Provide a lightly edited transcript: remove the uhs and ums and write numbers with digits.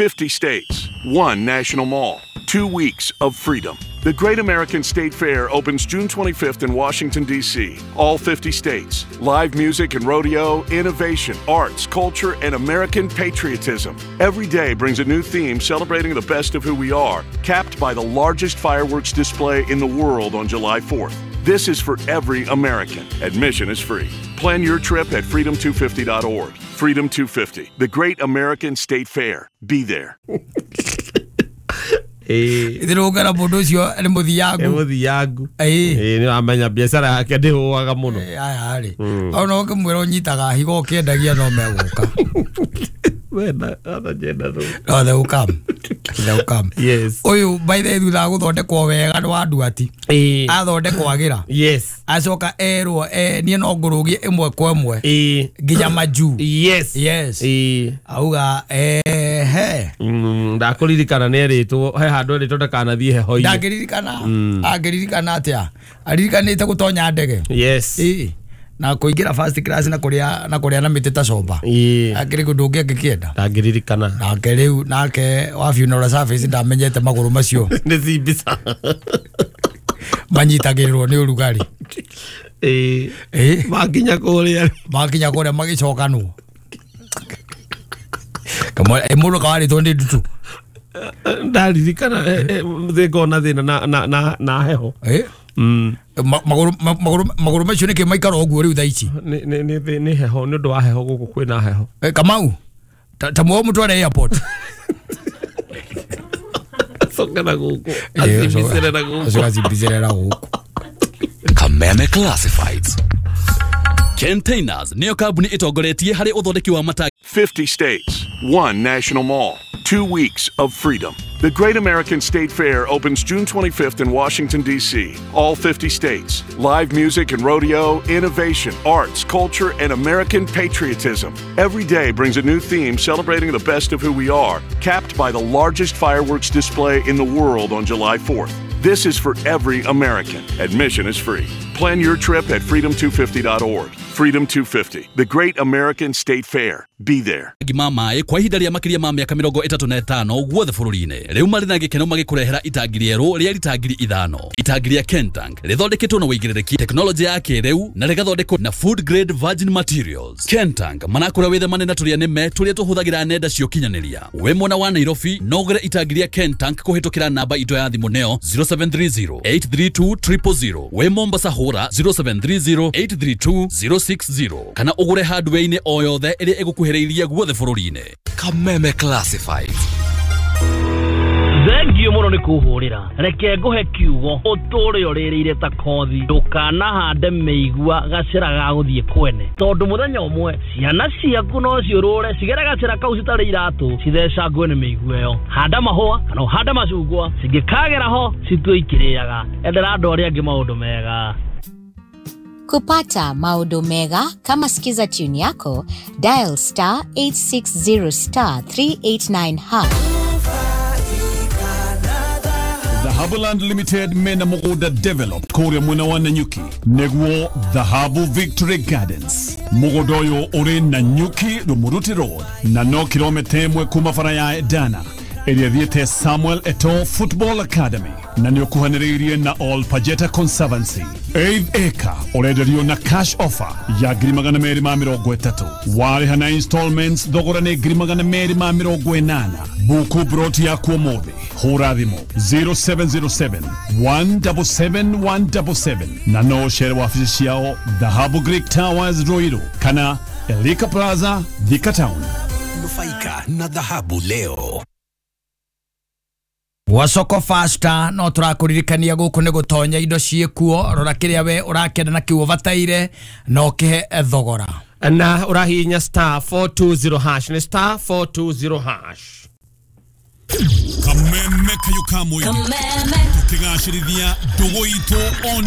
50 states, one national mall, 2 weeks of freedom. The Great American State Fair opens June 25th in Washington, D.C. All 50 states. Live music and rodeo, innovation, arts, culture, and American patriotism. Every day brings a new theme celebrating the best of who we are, capped by the largest fireworks display in the world on July 4th. This is for every American. Admission is free. Plan your trip at freedom250.org. Freedom 250, the Great American State Fair. Be there. Ithirũngara mũndũ ũcio nĩ mũthiangu. Nĩ mũthiangu. Ĩĩ nĩ wamenya biacara yake ndĩhũaga mũno. Aya rĩ. Ona ũkĩmwĩra ũnyitaga higo ũkĩendagia no megũka. Wena ana jenda rũ. No they will come. They will come. Yes. Ũyũ by the way thutha wa gũthondekwo wega nĩ wa nduati. Athondekwo agĩra. Yes. Acoka erwo niĩ no ngũrũgie ĩmwe kwa ĩmwe. Nginya majuu. Yes. Yes. Auga ehe. Ndakũririkana nĩ erĩtwo he handũ erĩtwo ndakanathiĩ heho-inĩ. Ndangĩririkana. Angĩririkana atĩa? Aririkanĩte gũtonya ndege. Yes. Na kuingira first class na kuria na kuria na mĩtĩ ta comba. Akĩrĩ kũndũ ũngĩ angĩkĩenda. Ndangĩririkana. Nake rĩu nake wa funeral service ndamenyete magũrũ macio. Nĩ cimbica. Manyitagĩrĩrwo nĩ ũrugarĩ. Makinya kũrĩa. Makinya kũrĩa magĩcokanwo. Kamwe mũndũ kawarĩtwo nĩ ndutu. Ndaririkana thĩngona thĩna na heho. Magũrũ macio nĩkĩ maikara ũguo rĩu thaa ici? Nĩ heho nĩ ũndũ wa heho gũkũ kwĩna heho. Kamau ta muo mũtware airport. Acoke na gũkũ. Acimbicĩre na gũkũ. Acoke acimbicĩre na gũkũ. Kameme Classifieds. Containers nĩyo kambuni ĩtongoretie harĩ ũthondeki wa matangi. 50 states, one national mall, 2 weeks of freedom. The Great American State Fair opens June 25th in Washington, D.C. All 50 states. Live music and rodeo, innovation, arts, culture, and American patriotism. Every day brings a new theme celebrating the best of who we are, capped by the largest fireworks display in the world on July 4th. This is for every American. Admission is free. Plan your trip at freedom250.org. Freedom 250, the Great American State Fair. Be there. Gima maĩ kwa ihinda rĩa makĩria ma mĩaka 35 guothe bũrũri-inĩ. Rĩu marĩ na gĩkeno magĩkũrehera itangi rĩerũ rĩa rita 5,000. Itangi rĩa Kentank rĩthondeketwo na ũigĩrĩrĩki tekinoronjĩ ya kĩrĩu na rĩgathondekwo na food grade virgin materials. Kentank manakũra wĩthemane na tũrĩa nĩme tũrĩa tũhũthagĩra nenda cia ũkinyanĩria. Wĩ mwena wa Nairobi no ũgũre itangi rĩa Kentank kũhĩtũkĩra namba itũ ya thimũ neo 0730 832 000. Wĩ Mombasa hũra 0730 832 060 kana ũgũre hardware-inĩ o yothe ĩrĩa ĩgũkuhĩrĩirie guothe bũrũri-inĩ. Kameme Classifieds. Thengio mũno nĩ kũhũrĩra. Reke ngũhe kiugo ũtũre ũrĩrĩire ta kothi. Ndũkanahande mĩigua gacĩra ga gũthiĩ kwene, tondũ mũthenya ũmwe ciana ciaku no ciũrũre cigere gacĩra kau citarĩ iratũ cithecangwe nĩ mĩigua ĩyo. Handa mahũa kana ũhande macungwa, cingĩkagera ho citue ikĩrĩaga. Endera andũ arĩa angĩ maũndũ mega. Kupata maodo mega kama Skiza tune yako, dial star 860 star 389 hash. Dhahabuland Limited mena mũgũnda developed kũrĩa mwena wa Nanyuki nĩguo Dhahabu Victory Gardens. Mũgũnda ũyũ ũrĩ Nanyuki Rumuruti Road na no kilomita 1 kuma bara ya Edana ĩrĩa thiĩte Samuel Eto'o Football Academy na nĩ ũkuhanĩrĩirie na All Pajeta Conservancy. 8 acre ũrenderio na cash offer ya 230,000. Warĩha na installments thogora nĩ 280,000. Buku broti yaku ũmũthĩ. Hũra thimũ 0707 177 177 na no ũcere wabici ciao Dhahabu Greek Towers Ruiru kana Elika Plaza Thika Town. Nufaika na Dhahabu leo. Wasoko Fasta no tũrakũririkania gũkũ nĩ gũtonya indo ciĩkuo. Rora kĩrĩa we ũrakĩenda na kĩu ũbataire no kĩhe thogora. Na ũrahihinya star 420 hash nĩ star 420 hash. Kameme kayo kamwe. Tukigacĩrithia ndũgũ itũ on